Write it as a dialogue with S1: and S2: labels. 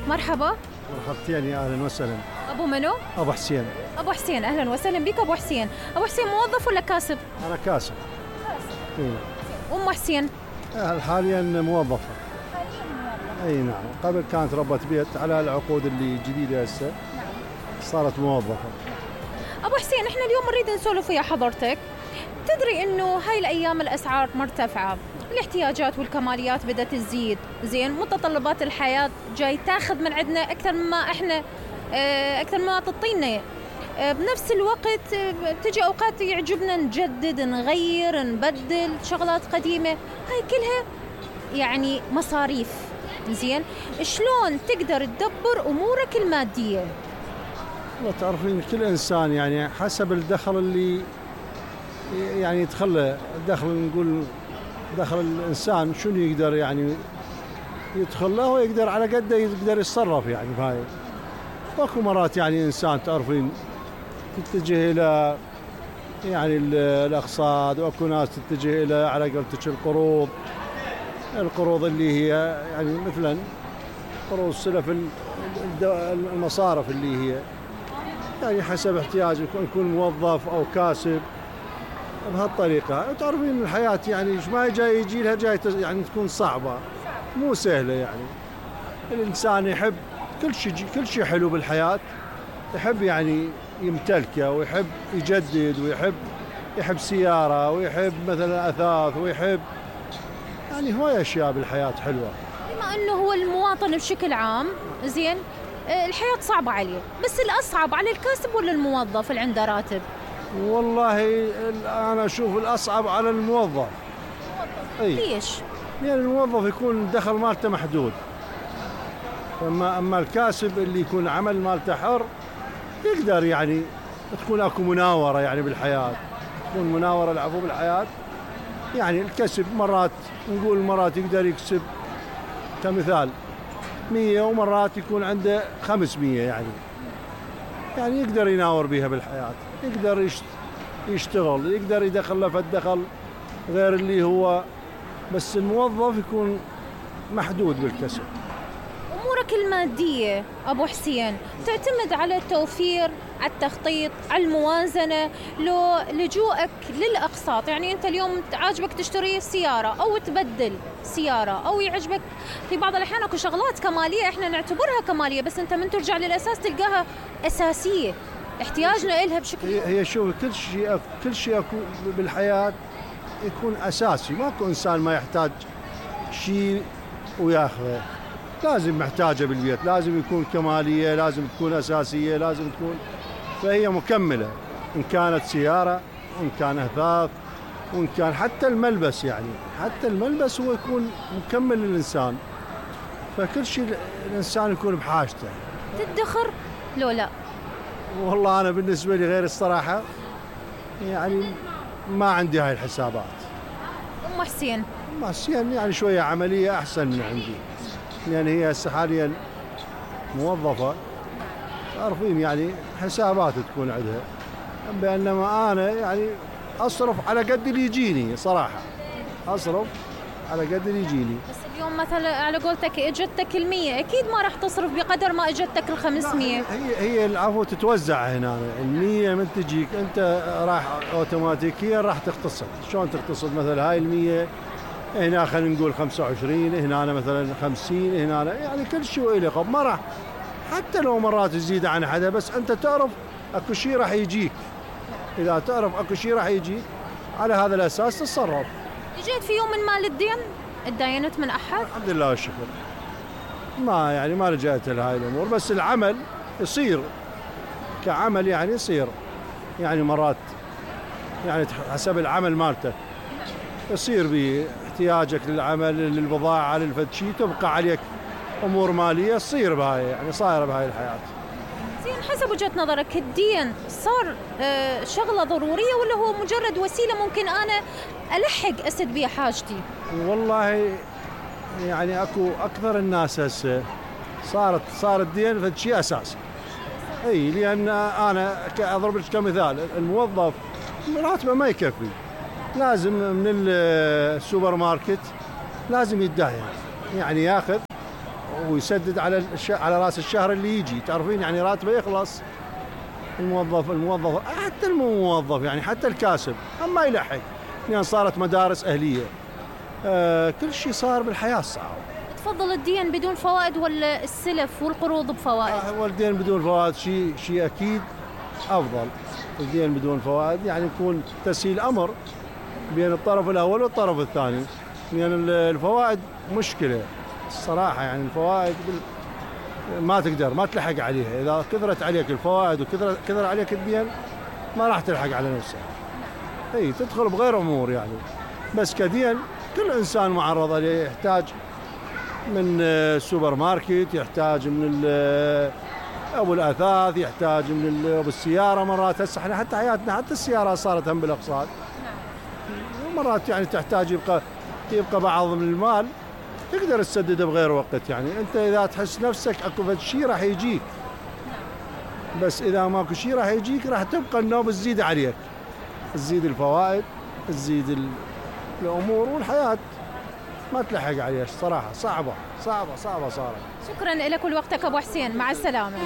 S1: مرحبا.
S2: مرحبتين، يا اهلا وسهلا.
S1: ابو منو؟
S2: ابو حسين.
S1: ابو حسين، اهلا وسهلا بك ابو حسين. ابو حسين موظف ولا كاسب؟
S2: انا كاسب. إيه.
S1: ام حسين؟
S2: حاليا موظفة. اي نعم، قبل كانت ربة بيت على العقود اللي جديدة هسه صارت موظفة.
S1: ابو حسين، احنا اليوم نريد نسولف ويا حضرتك. تدري انه هاي الايام الاسعار مرتفعة، الاحتياجات والكماليات بدأت تزيد، زين متطلبات الحياة جاي تاخذ من عندنا اكثر مما احنا اكثر مما تعطينا. بنفس الوقت تجي اوقات يعجبنا نجدد، نغير، نبدل شغلات قديمة، هاي كلها يعني مصاريف. زين شلون تقدر تدبر امورك المادية؟
S2: والله تعرفين كل انسان يعني حسب الدخل اللي يعني يدخله، الدخل نقول دخل الانسان شنو يقدر يعني يدخل له ويقدر على قده يقدر يتصرف يعني بهاي. واكو مرات يعني انسان تعرفين تتجه الى يعني الاقساط، واكو ناس تتجه الى على قولتك القروض اللي هي يعني مثلا قروض السلف، المصارف اللي هي يعني حسب احتياجه، يكون موظف او كاسب بهالطريقه. تعرفين الحياه يعني ما جاي يجي لها جاي يعني تكون صعبه مو سهله يعني. الانسان يحب كل شيء حلو بالحياه، يحب يعني يمتلكه ويحب يجدد ويحب سياره ويحب مثلا اثاث ويحب يعني هواي اشياء بالحياه حلوه.
S1: بما انه هو المواطن بشكل عام زين الحياه صعبه عليه، بس الاصعب على الكاسب ولا الموظف اللي عنده راتب؟
S2: والله انا اشوف الاصعب على الموظف.
S1: اي ليش؟
S2: يعني الموظف يكون الدخل مالته محدود، اما الكاسب اللي يكون عمل مالته حر يقدر يعني تكون اكو مناوره يعني بالحياه، تكون مناوره العفو بالحياه. يعني الكسب مرات نقول مرات يقدر يكسب كمثال 100 ومرات يكون عنده 500 يعني يقدر يناور بيها بالحياه، يقدر يشتغل، يقدر يدخل له فالدخل غير اللي هو. بس الموظف يكون محدود بالكسب.
S1: أمورك المادية أبو حسين تعتمد على التوفير، على التخطيط، على الموازنة، لو لجوءك للأقساط. يعني أنت اليوم عاجبك تشتري سيارة أو تبدل سيارة، أو يعجبك في بعض الأحيان أكو شغلات كمالية إحنا نعتبرها كمالية، بس أنت من ترجع للأساس تلقاها أساسية، احتياجنا إلها بشكل.
S2: هي شوف كل شيء أكو بالحياة يكون أساسي، ماكو إنسان ما يحتاج شيء وياخذه، لازم محتاجة بالبيت، لازم يكون كمالية، لازم تكون أساسية، لازم تكون، فهي مكملة، إن كانت سيارة وإن كان أثاث وإن كان حتى الملبس. يعني حتى الملبس هو يكون مكمل للإنسان، فكل شيء الإنسان يكون بحاجته.
S1: تدخر لو لا؟
S2: والله أنا بالنسبة لي غير الصراحة يعني ما عندي هاي الحسابات.
S1: أم حسين
S2: يعني شوية عملية أحسن من عندي، يعني هي هسه حاليا موظفة، تعرفين يعني حسابات تكون عندها، بينما أنا يعني أصرف على قد اللي يجيني صراحة، أصرف على قد اللي يجيني.
S1: بس اليوم مثلا على قولتك اجتك 100، أكيد ما راح تصرف بقدر ما اجتك 500.
S2: هي العفو تتوزع هنا، 100 من تجيك أنت راح أوتوماتيكيا راح تقتصد. شلون تقتصد؟ مثلا هاي 100 هنا خلينا نقول 25، هنا أنا مثلا 50، هنا أنا يعني كل شيء له قب، ما راح حتى لو مرات تزيد عن حدا، بس أنت تعرف أكو شيء راح يجيك. إذا تعرف أكو شيء راح يجيك على هذا الأساس تتصرف.
S1: جيت في يوم من مال الدين اتداينت من أحد؟
S2: الحمد لله والشكر، ما لجأت لهاي الأمور، بس العمل يصير كعمل يعني يصير يعني مرات يعني حسب العمل مالته يصير باحتياجك للعمل، للبضاعة، للفتشي، تبقى عليك أمور مالية تصير بهاي يعني صايرة بهاي الحياة.
S1: زين حسب وجهة نظرك الدين صار شغلة ضرورية ولا هو مجرد وسيلة ممكن أنا ألحق أسد بها حاجتي؟
S2: والله يعني أكو أكثر الناس هسه صار الدين فشي أساسي. أي لأن أنا أضرب لك كمثال، الموظف راتبه ما يكفي، لازم من السوبر ماركت لازم يتداين، يعني ياخذ ويسدد على راس الشهر اللي يجي. تعرفين يعني راتبه يخلص. الموظف حتى الموظف يعني حتى الكاسب ما يلحق، لان صارت مدارس اهليه. كل شيء صار بالحياه صعب.
S1: تفضل الدين بدون فوائد ولا السلف والقروض بفوائد؟
S2: هو الدين بدون فوائد شيء اكيد افضل. الدين بدون فوائد يعني يكون تسهيل امر بين الطرف الاول والطرف الثاني، لان يعني الفوائد مشكله الصراحه. يعني الفوائد ما تقدر ما تلحق عليها. اذا كثرت عليك الفوائد وكثر عليك الدين ما راح تلحق على نفسك. اي تدخل بغير امور يعني. بس كدين كل انسان معرض عليه، يحتاج من السوبر ماركت، يحتاج من ابو الاثاث، يحتاج من ابو السياره. مرات هسه احنا حتى حياتنا حتى السياره صارت هم بالاقساط. مرات يعني تحتاج يبقى بعض من المال تقدر تسدده بغير وقت. يعني انت اذا تحس نفسك اكو شيء راح يجيك، بس اذا ماكو شيء راح يجيك راح تبقى النوبه تزيد عليك، تزيد الفوائد، تزيد الامور، والحياه ما تلحق عليها. صراحه صعبه صارت.
S1: شكرا لك ولوقتك ابو حسين، مع السلامه.